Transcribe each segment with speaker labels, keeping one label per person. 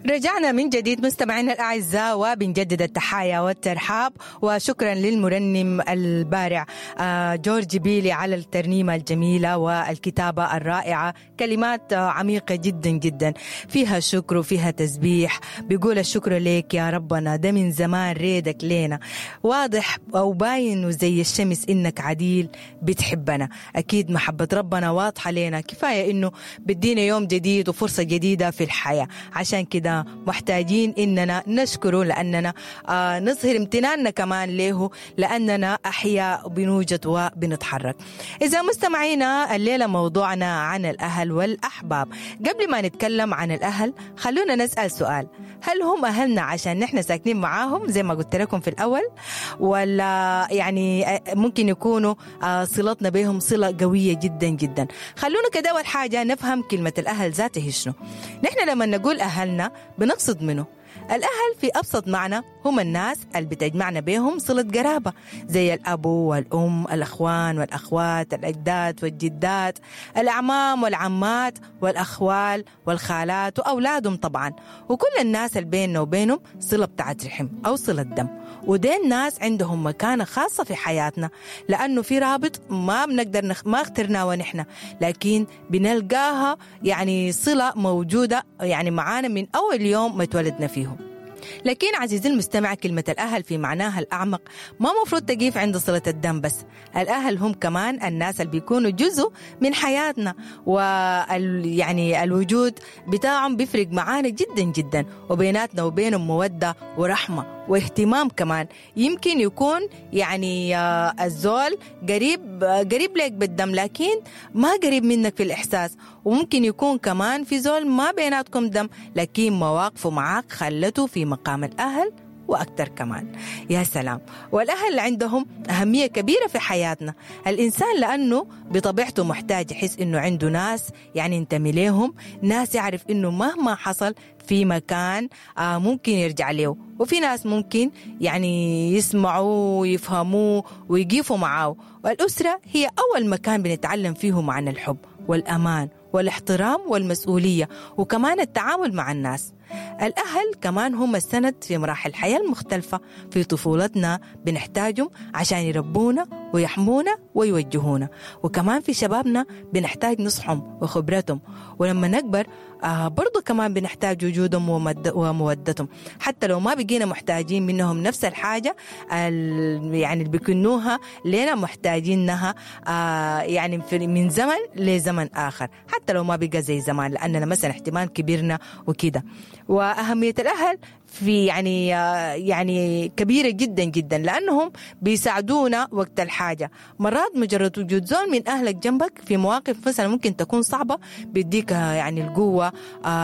Speaker 1: رجعنا من جديد مستمعينا الأعزاء، وبنجدد التحايا والترحاب، وشكرا للمرنم البارع جورج بيلي على الترنيمة الجميلة والكتابة الرائعة، كلمات عميقة جدا جدا فيها شكر وفيها تسبيح. بيقول الشكر ليك يا ربنا، ده من زمان ريدك لينا واضح أو باين وزي الشمس إنك عديل بتحبنا. أكيد محبة ربنا واضحة لينا، كفاية إنه بدينا يوم جديد وفرصة جديدة في الحياة، عشان كده محتاجين إننا نشكره، لأننا نظهر امتناننا كمان له، لأننا أحياء بنوجد وبنتحرك. إذا مستمعينا الليلة موضوعنا عن الأهل والأحباب. قبل ما نتكلم عن الأهل خلونا نسأل سؤال: هل هم أهلنا عشان نحن ساكنين معاهم زي ما قلت لكم في الأول، ولا يعني ممكن يكونوا صلتنا بهم صلة قوية جدا جدا؟ خلونا كده أول حاجة نفهم كلمة الأهل ذاته شنو. نحن لما نقول أهلنا بنقصد منه؟ الأهل في أبسط معنى هم الناس اللي بتجمعنا بهم صلة قرابة، زي الأب والأم، الأخوان والأخوات، الأجداد والجدات، الأعمام والعمات، والأخوال والخالات وأولادهم طبعا، وكل الناس اللي بيننا وبينهم صلة بتاعت رحم أو صلة دم. ودين الناس عندهم مكانة خاصة في حياتنا، لأنه في رابط ما بنقدر ما اخترناه ونحن، لكن بنلقاها يعني صلة موجودة يعني معانا من أول يوم ما اتولدنا فيه. لكن عزيزي المستمع، كلمة الأهل في معناها الأعمق ما مفروض تقيف عند صلة الدم بس. الأهل هم كمان الناس اللي بيكونوا جزء من حياتنا، يعني الوجود بتاعهم بيفرق معانا جدا جدا، وبيناتنا وبينهم مودة ورحمة واهتمام كمان. يمكن يكون يعني الزول قريب لك بالدم، لكن ما قريب منك في الإحساس. وممكن يكون كمان في زول ما بيناتكم دم، لكن مواقفه معاك خلته في مقام الأهل وأكثر كمان. يا سلام. والأهل عندهم أهمية كبيرة في حياتنا. الإنسان لأنه بطبيعته محتاج يحس إنه عنده ناس يعني ينتمي لهم، ناس يعرف إنه مهما حصل في مكان ممكن يرجع له، وفي ناس ممكن يعني يسمعوا ويفهموه ويقفوا معاه. والأسرة هي أول مكان بنتعلم فيه معنى الحب والأمان والاحترام والمسؤولية، وكمان التعامل مع الناس. الأهل كمان هم السند في مراحل الحياة المختلفة. في طفولتنا بنحتاجهم عشان يربونا ويحمونا ويوجهونا، وكمان في شبابنا بنحتاج نصحهم وخبرتهم، ولما نكبر برضو كمان بنحتاج وجودهم ومودتهم، حتى لو ما بقينا محتاجين منهم نفس الحاجة يعني اللي بيكنوها لنا محتاجينها يعني من زمن لزمن آخر، حتى لو ما بقى زي زمان، لأننا مثلا احتمال كبرنا وكده. وأهمية الأهل في يعني كبيرة جدا جدا، لأنهم بيساعدونا وقت الحاجة. مرات مجرد وجود زول من أهلك جنبك في مواقف مثلا ممكن تكون صعبة بيديك يعني القوة،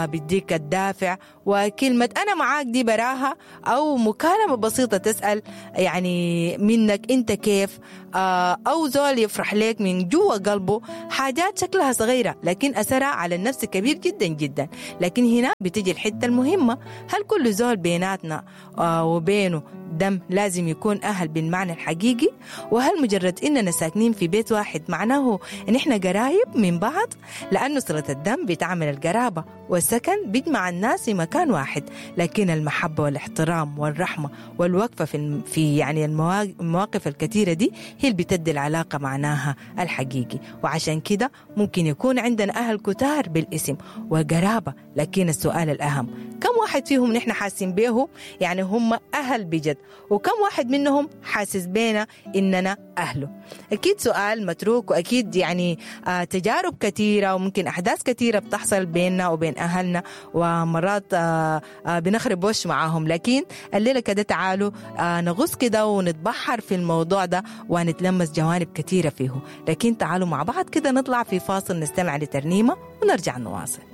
Speaker 1: بيديك الدافع، وكلمة أنا معاك دي براها، أو مكالمة بسيطة تسأل يعني منك أنت كيف، أو زول يفرح لك من جوا قلبه. حاجات شكلها صغيرة لكن أثرها على النفس كبير جدا جدا. لكن هنا بتجي الحتة المهمة: هل كل زول بيناتنا وبينه دم لازم يكون أهل بالمعنى الحقيقي؟ وهل مجرد إننا ساكنين في بيت واحد معناه إن إحنا قرايب من بعض؟ لأنه صلة الدم بتعمل القرابة، والسكن بيجمع الناس في مكان واحد، لكن المحبة والاحترام والرحمة والوقفة في يعني المواقف الكثيرة دي هي اللي بتدي العلاقة معناها الحقيقي. وعشان كده ممكن يكون عندنا أهل كتار بالاسم وقرابة، لكن السؤال الأهم: كم واحد فيهم نحن حاسين به يعني هم أهل بجد، وكم واحد منهم حاسس بينا إننا أهله؟ أكيد سؤال متروك، وأكيد يعني تجارب كثيرة وممكن أحداث كثيرة بتحصل بيننا وبين أهلنا، ومرات بنخرب وش معاهم. لكن الليلة كده تعالوا نغوص كده ونتبحر في الموضوع ده ونتلمس جوانب كثيرة فيه. لكن تعالوا مع بعض كده نطلع في فاصل، نستمع لترنيمة ونرجع نواصل.